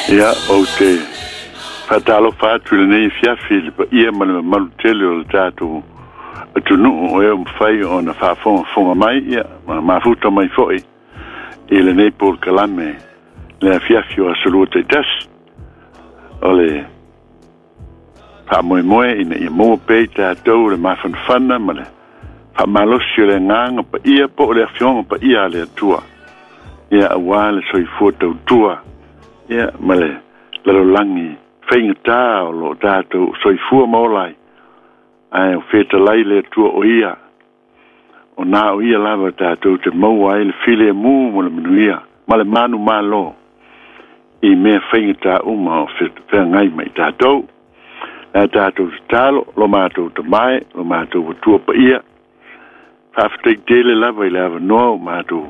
Ia, ou te faatalofa atu i lenei afiafi i le paia ma le mamalu tele o le tatou atunuu o e ua mafai ona faafogafoga mai, ia, ma mafuta mai foi i lenei polokalame le afiafi o Aso Lua taitasi. O le faamoemoe ina ia maua pea i tatou le mafanafana ma le faamalosi o le agaga paia po o le afioga paia a le Atua, ia, aua le soifua tautua, ia, ma le lalolagi faigata o lo o tatou soifua ma ola ai, ae o fetalai le Atua o ia, o na o ia lava tatou te maua ai le filemu ma le manuia ma le manumalo i mea faigata uma o feagai ma i tatou. Le a tatou tatalo, lo matou tamae, lo matou Atua paia, faafetai tele lava i le avanoa o matou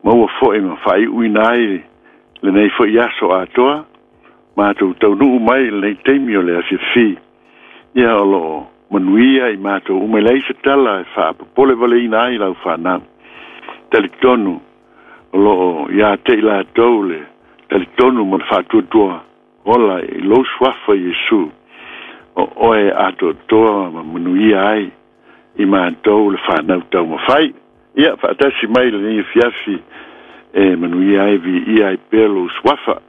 maua foi ma faaiuina ai lenei foi aso atoa, matou taunuu mai i lenei taimi o le afiafi. Ia o loo manuia i matou uma, e leai se tala e faapopole valeina ai lau fanau. Talitonu o loo ia te i latou le talitonu ma le faatuatua ola i lou suafa Iesu, o oe atoatoa ma manuia ai i matou le fanau taumafai. Ia faatasi mai lenei afiafi e manuia ai viia ai pea lou suafa.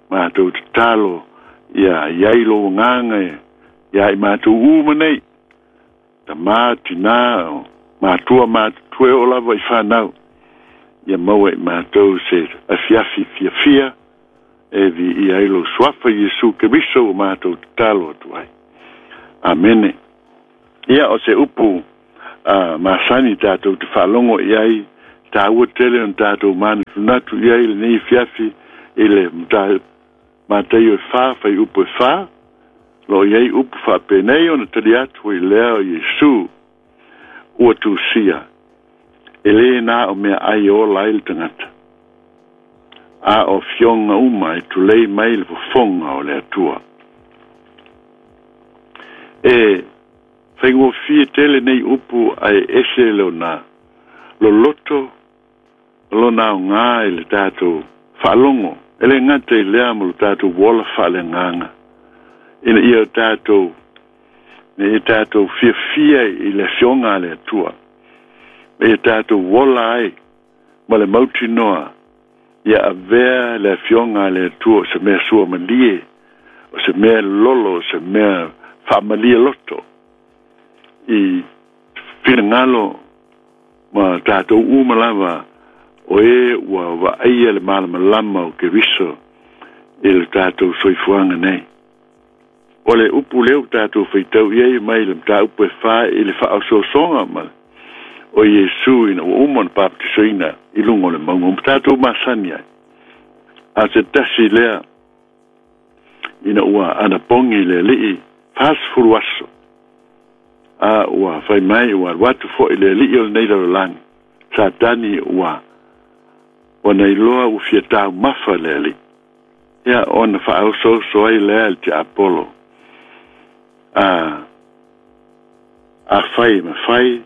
Matou tatalo ia iai lou agaga ia i matou uma nei, tama, tina, matua, matutua, e oo lava i fanau, ia maua i matou se afiafi fiafia e viia ai lou suafa Iesu Keriso ua matou tatalo atu ai. Amene. Ia o se upu masani tatou te faalogo i ai, taua tele ona tatou manatunatu i ai lenei afiafi i le Mataio e 4, fuaiupu e 4, lo o i ai upu faapenei ona tali atu ai lea o Iesu, ua tusia, e lē na o meaai e ola ai le tagata, a o afioga uma e tulei mai le fofoga o le Atua. E faigofie tele nei upu ae ese lona loloto, lona aoga i le tatou faalogo, e le gata i lea ma lo tatou ola faaleagaga, ina ia tatou fiafia i le afioga a le Atua, ia tatou ola ai ma le mautinoa, ia avea le afioga a le Atua o se mea suamalie, o se mea lolo, o se mea faamalie loto i finagalo ma tatou uma lava o e ua vaaia le malamalama o Keriso i le tatou soifuaga nei. O le upu lea ua tatou faitau i ai mai le mataupu e 4 i le faaosoosoga ma o Iesu ina ua uma ona papatisoina i luga o le mauga ma tatou masani ai. A se tasi lea ina ua anapogi le alii 40 aso, a ua fai mai ua alu atu foi le alii o lenei lalolagi, Satani ua nailoa ua fia taumafa le alii. Ia ona faaosooso ai lea le tiapolo, a fai ma fai,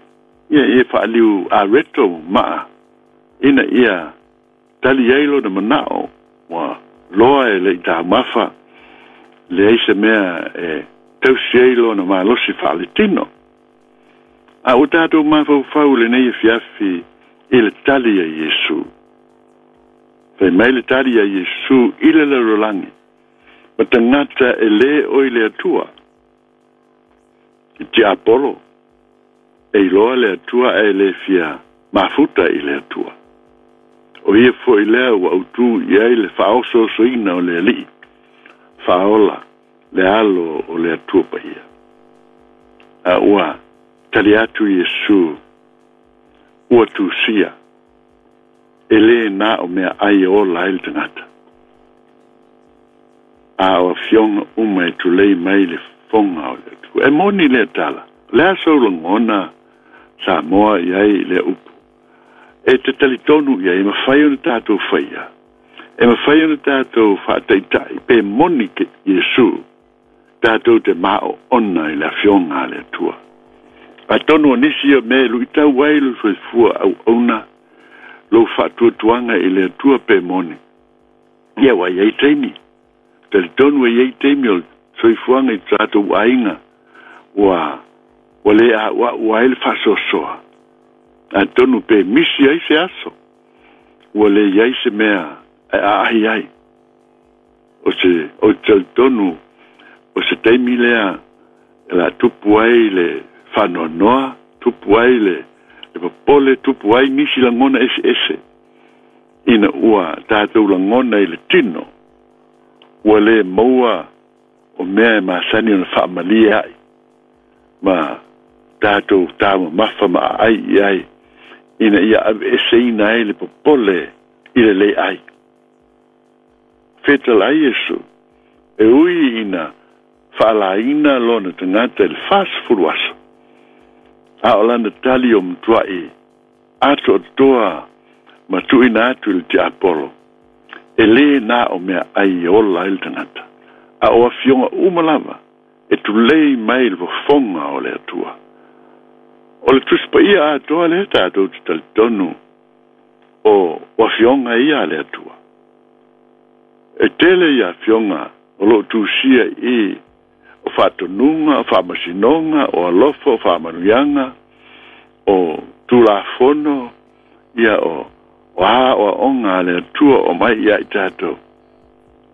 ia ia faaliu areto maa, ina ia tali ai lona manao, ua loa e le i taumafa, leai se mea e tausi ai lona malosi faaletino. A ua tatou mafaufau lenei afiafi i le tali a Iesu. Fai mai le tali a Iesu i le lalolagi, ma tagata e lē o i le Atua. I tiapolo, e iloa le Atua ae le fia mafuta i le Atua. O ia foi lea ua autu i ai le faaosoosoina o le alii, faaola le alo o le Atua paia. A ua tali atu Iesu, ua tusia, e lē na o meaai e ola ai le tagata, a o afioga uma e tulei mai le fofoga o le Atua. E moni lea tala, o le a sou lagona Samoa i ai lea upu, e te talitonu i ai, e mafai ona tatou faia, e mafai ona tatou faataitai pe moni ke Iesu, tatou te maoona i le afioga a le Atua. Atonu o nisi o mea e luitau ai lo soifua auauna, lou faatuatuaga i le Atua pe moni. Ia ua iai taimi, talitonu e iai taimi o le soifuaga i tatou aiga ua lē a'ua'u ai le faasoasoa. Atonu pe misi ai se aso ua lē iai se mea e aahi ai. O se o talitonu o se taimi lea e la tupu ai le faanoanoa, tupu ai le popole, tupu ai nisi lagona eseese ina ua tatou lagona i le tino ua lē maua o mea e masani ona faamalie ai ma tatou taumamafa ma aai i ai ina ia aveeseina ai le popole i le lē ai. Fetalai Iesu e ui ina faalaina lona tagata i le 40 aso, a o lana tali o matua'i atoatoa ma tuuina atu i le tiapolo, e lē na o mea ai e ola ai le tagata, a o afioga uma lava e tulei mai le fofoga o le Atua. O le Tusi Paia atoa lea tatou te talitonu o afioga ia a le Atua. E tele ia afioga o loo tusia i o faatonuga, o faamasinoga, o alofa, o faamanuiaga, o tulafono, ia o aoaoga a le Atua o mai ia i tatou.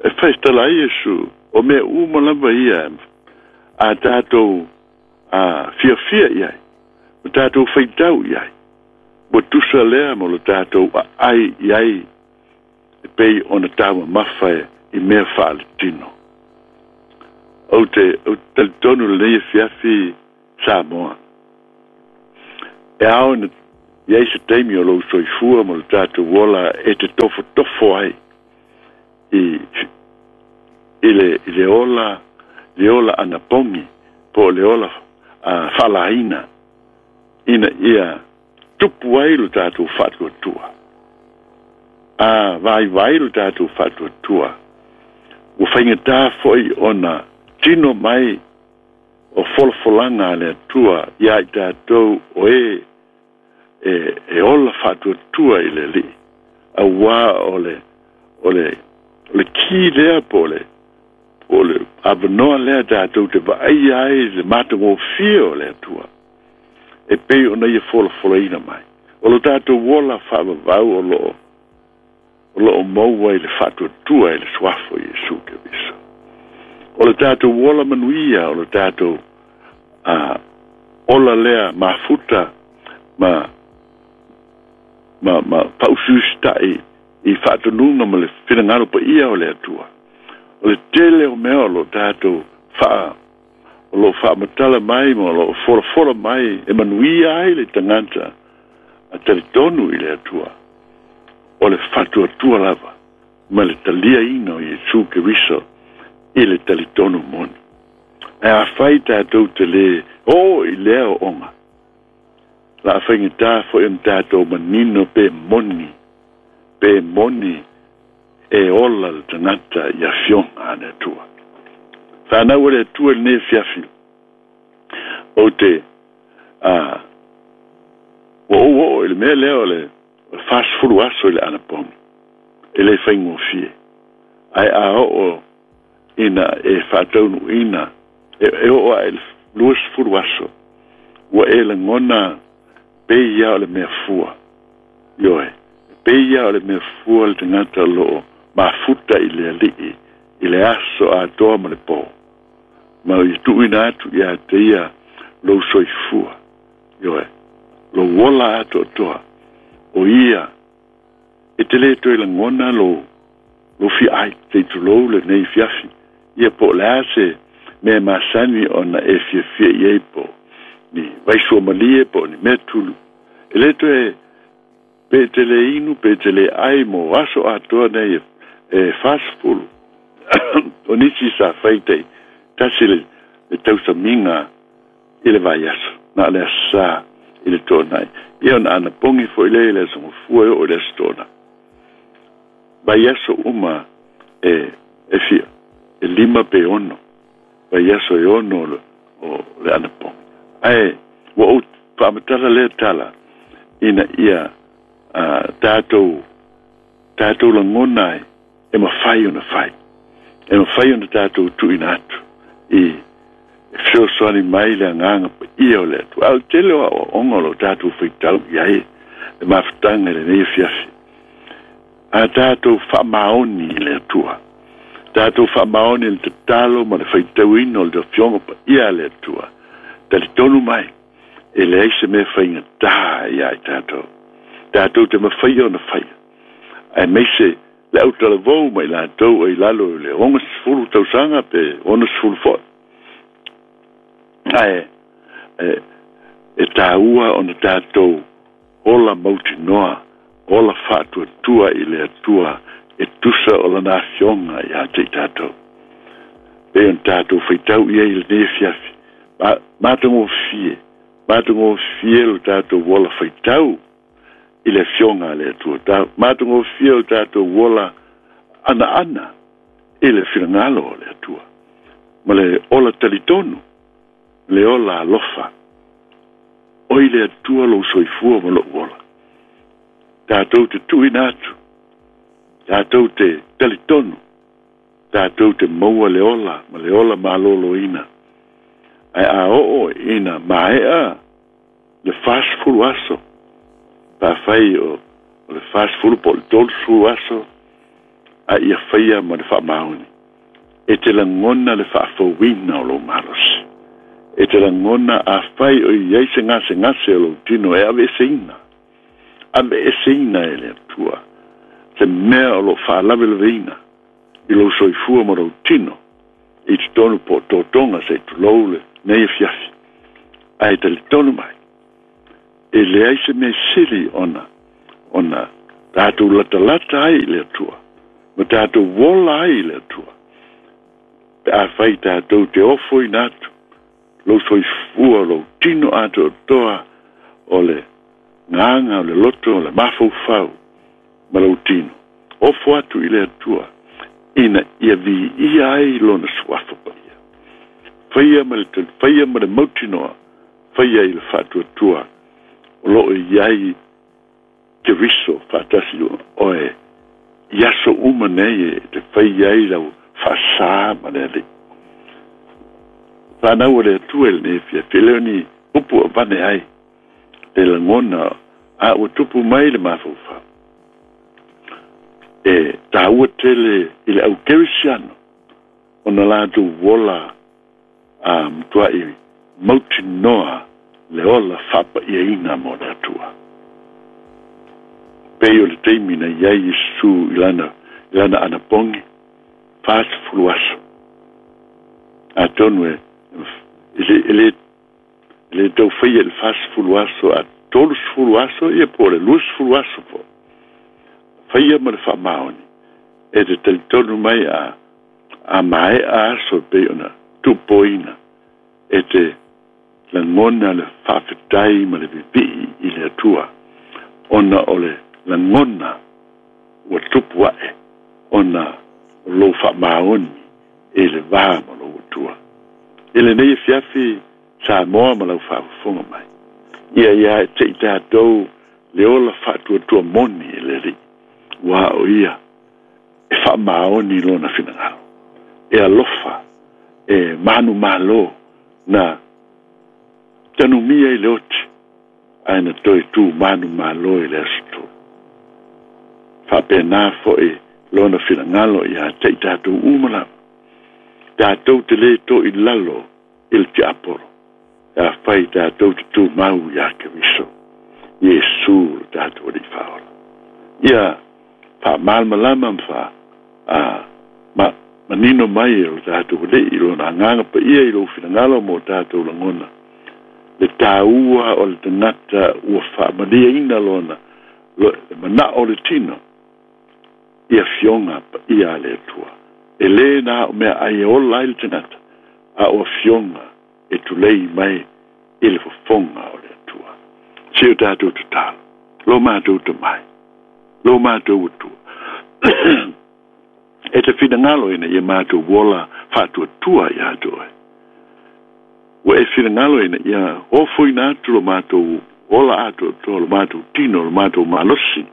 E faitala ai Iesu, o mea uma lava ia a tatou fiafia i ai, ma tatou faitau i ai, ua tusa lea mo lo tatou aai i ai e pei ona taumamafa i mea faaletino. Ou te talitonu lenei afiafi Samoa, e ao ina iai se taimi o lou soifua ma lo tatou ola e te tofotofo ai i le ola anapogi po o le ola faalaina ina ia tupu ai lo tatou faatuatua. A vaivai lo tatou faatuatua, ua faigatā foi ona tino mai o folafolaga a le Atua ia i tatou o e e ola faatuatua i le Alii, auā o le ki lea po o le avanoa lea tatou te vaaia ai le matagofie o le Atua e pei ona ia folafolaina mai. O lo tatou ola faavavau o loo maua i le faatuatua i le suafa o Iesu Keriso. O le tatou ola manuia, o le tatou ola lea mafuta ma faausiusitai i faatonuga ma le finagalo paia o le Atua. O le tele o mea o lo tatou o lo faamatala mai ma o lo folafola mai e manuia ai le tagata a talitonu i le Atua, o le faatuatua lava ma le taliaina o Iesu Keriso i le talitonu moni. Ae afai tatou te lē oo i lea ooga, la faigatā foi ona tatou manino pe moni e ola le tagata i afioga a le Atua. Fanau a le Atua i lenei afiafi, ou te ua ou oo i le mea lea o le 40 aso i le anapogi, e lē faigofie. Ae a oo ina e faataunuuina, e oo ae le 20 aso, ua e lagona pei ia o le mea fua. Ioe, pei ia o le mea fua le tagata o loo mafuta i le Alii i le aso atoa ma le pō, ma ia tuuina atu ia te ia lou soifua. Ioe, lou ola atoatoa o ia e te lē toe lagona lou fiaai sei tulou lenei fiafi. Ia po o le a se mea masani ona e fiafia i ai, po ni vaisuamalie, po o ni mea tulu, e lē toe pe te lē inu pe te lē ai mo aso atoa nei e 40. O nisi sa fai tai tasi le tausamiga i le vaiaso, na o le asā i le toonai. Ia ona anapogi foi lea i le aso gafua e oo i le aso toonai. Vaiaso uma e fia, e 5 pe 6, vaiaso e 6 o le anapogi. Ae ua ou faamatala lea tala ina ia tatou lagona ai E mafai ona fai. E mafai ona tatou tuuina atu i fesoasoani mai le agaga paia o le Atua. A o le tele o aoaoga o lo o tatou faitau i ai le mafutaga i lenei afiafi. A tatou faamaoni i le Atua, tatou faamaoni i le tatalo ma le faitauina o le Afioga Paia a le Atua, talitonu mai, e leai se mea faigata ia i tatou. Tatou te mafaia ona faia. Aemaise le autalavou ma i latou o i lalo i le 60 tausaga pe 60 foi. Ae e tāua ona tatou ola mautinoa, ola faatuatua i le Atua e tusa o lana afioga ia te i tatou. Pe ona tatou faitau i ai i lenei afiafi. Matagofie, matagofie lo tatou ola faitau i le afioga a le Atua. Matagofie lo tatou ola anaana i le finagalo o le Atua. Ma le ola talitonu, le ola alofa. O i le Atua lou soifua ma lou ola. Tatou te tuuina atu, tatou te talitonu, tatou te maua le ola ma le ola maloloina. Ae a oo ina maea le 40 aso, pa fai o le 40 po o le 30 aso, a ia faia ma le faamaoni. E te lagona le faafouina o lou malosi. E te lagona a fai o i ai se gasegase o lou tino e aveeseina. Aveeseina e le Atua. Se mea o lou faalavelaveina i lou soifua ma lou tino i totonu po o totoga se i tulou lenei afiafi. Ae talitonu mai, e leai se mea sili ona tatou latalata ai i le Atua, ma tatou ola ai i le Atua. Pe a fai tatou te ofoina atu lou soifua, lou tino atoatoa o le gaga, o le loto, o le mafaufau ma lou tino. Ofo atu i le Atua ina ia viia ai lona suafa paia. Faia ma le mautinoa, faia i le faatuatua o loo i ai Keriso faatasi oe i aso uma nei e te fai ai lau faasā ma le Alii. Whanau o le Atua i lenei afiafi, e le o ni upu avane ai le lagona a ua tupu mai le mafaufau. E tāua tele i le au kerisiano ona latou ola a matuai mautinoa le ola faapaiaina mo le Atua. Pei o le taimi na i ai Iesu i lana anapogi, 40 aso. Atonu e le tau faia i le 40 aso, a 30 aso, ia po o le 20 aso po. Faia ma le faamaoni, e te talitonu mai a maea aso pei ona tupoina, e te lagona le faafetai ma le vivii i le Atua, ona o le lagona ua tupu ae, ona o lou faamaoni e le va ma lou Atua. I lenei afiafi Samoa ma lau faafofoga mai, ia ia e te i tatou le ola faatuatua moni e le Alii, ua o ia e faamaoni lona finagalo, e alofa, e manumalo na tanumia i le oti, ae na toe tu manumalo i le aso tolu. Faapena foi lona finagalo ia te i tatou uma lava. Tatou te le to i lalo i le tiapolo, a fai tatou te tumau ia Keriso, Iesu lo tatou Alii Faaola. Ia faamalamalama ma manino mai e lo tatou Alii i lona agaga paia i lou finagalo mo tatou lagona. Le tāua o le tagata ua faamaliaina lona le manao o le tino i afioga paia a le Atua. E le na o mea ai e ola ai le tagata, a o afioga e tulei mai i le fofoga o le Atua. Se o tatou tatalo, lo matou tamai, lo matou Atua. E te finagalo ina ia matou ola faatuatua ia te oe. Ua e finagalo ina ia ofoina atu lo matou ola atoatoa, lo matou tino, lo matou malosi,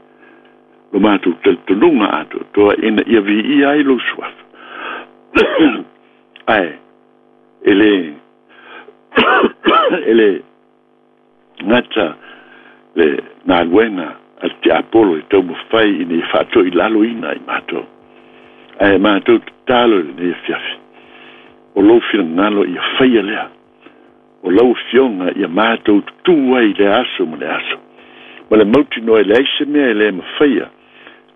Lo matou talitonuga atoatoa ina ia viia ai lou suafa. Ae e le e le gata le galuega a le tiapolo e taumafai ina ia faatoilaloina i matou. Ae matou tatalo i lenei afiafi, o lou finagalo ia faia lea, o lau Afioga ia matou tutū ai i lea aso ma le aso, ma le mautinoa e leai se mea e le mafaia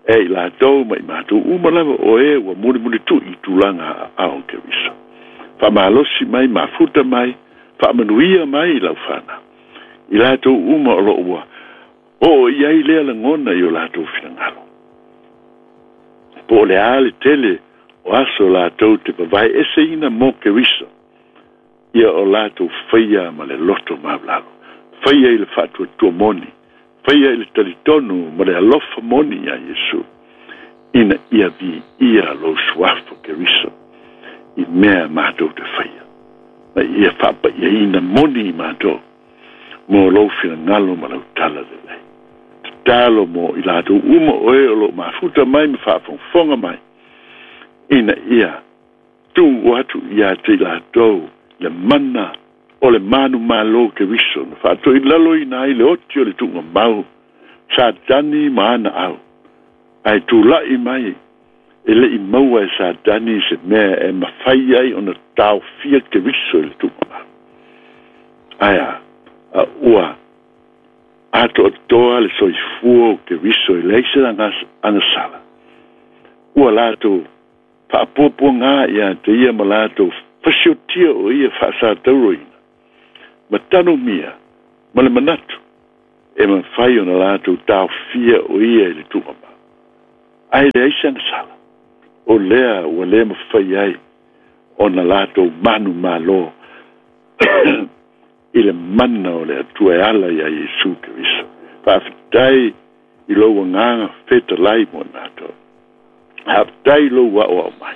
e i latou ma i matou uma lava o e ua mulimulitu'i i tulaga aao o Keriso. Faamalosi mai, mafuta mai, faamanuia mai i lau fanau, i latou uma o lo o ua oo i ai lea lagona i o latou finagalo. Po o le a le tele o aso latou te vavae eseina mo Keriso, ia o latou faia ma le loto maulalo, faia i le faatuatua moni, faia i le talitonu ma le alofa moni iā Iesu, ina ia viia lou suafa Keriso i mea matou te faia, ma ia faapaiaina moni i matou mo lou finagalo ma lau tala lelei. Tatalo mo i latou uma o e o lo o mafuta mai ma faafogafoga mai, ina ia tuu atu ia te i latou le mana o le manumalo Keriso na faatoilaloina ai le oti o le tuugamau Satani ma ana au, ae tula'i mai e le i maua e Satani se mea e mafai ai ona taofia Keriso i le tuugamau. Ae a? A ua atoatoa le soifua o Keriso e leai se agasala. Ua latou faapuapuagā ia te ia ma latou fasiotia o ia faasatauroina, ma tanumia ma le manatu e mafai ona latou taofia o ia i le tuugamau. Ae leai se agasala, o lea ua le mafai ai ona latou manumalo i le mana o le Atua e ala iā Iesu Keriso. Faafetai i lou agaga fetalai mo i matou. Faafetai i lou aoao mai.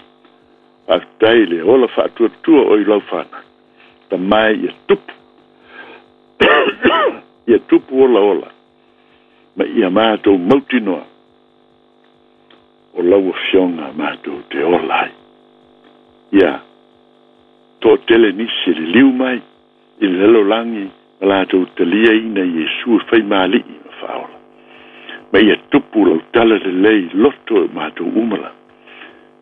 Faafetai i le ola faatuatua o i lau fanau. Tamae ia tupu. Ia tupu olaola ma ia matou mautinoa o lau Afioga matou te ola ai. Ia toatele nisi e liliu mai i le lalolagi ma latou taliaina Iesu e faimaali'i ma faaola. Ma ia tupu lau tala lelei i loto o matou uma lava.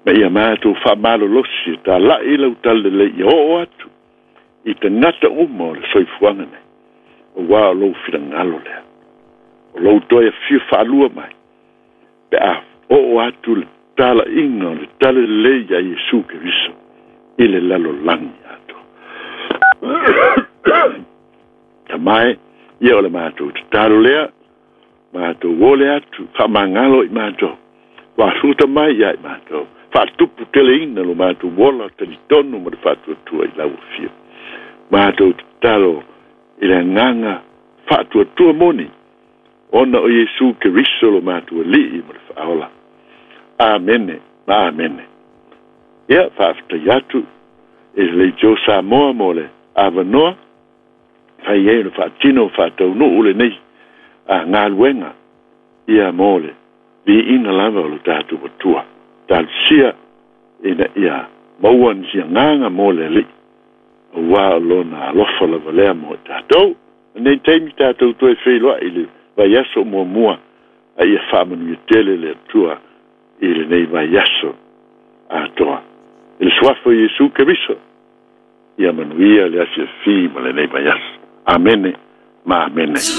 Ma ia matou faamalolosi e tala'i lau tala lelei ia oo atu i tagata uma o le soifuaga nei, aua o lou finagalo lea. O lou toe afio faalua mai, pe a oo atu le tala'iga o le tala lelei iā Iesu Keriso i le lalolagi atoa. Tamae, ia o le matou tatalo lea, matou ole atu, faamagalo i matou, faasuta mai ia i matou, faatupu teleina lo matou ola talitonu ma le faatuatua i lau afio. Matou tatalo i le agaga faatuatua moni, ona o Iesu Keriso lo matou Alii ma le Faaola. Amene ma amene. Ia, faafetai atu i le Leitio Samoa mo le avanoa, fai ai ona faatino faataunuu lenei galuega, ia mo le viiga lava o lo tatou Atua. Talosia ina ia maua nisi agaga mo le Alii, aua o lona alofa lava lea mo i tatou. Lenei taimi tatou toe feiloai i le vaiaso muamua, a ia faamanuia tele le Atua i lenei vaiaso atoa. I le suafa o Iesu Keriso, ia manuia le afiafi ma lenei vaiaso. Amene ma amene.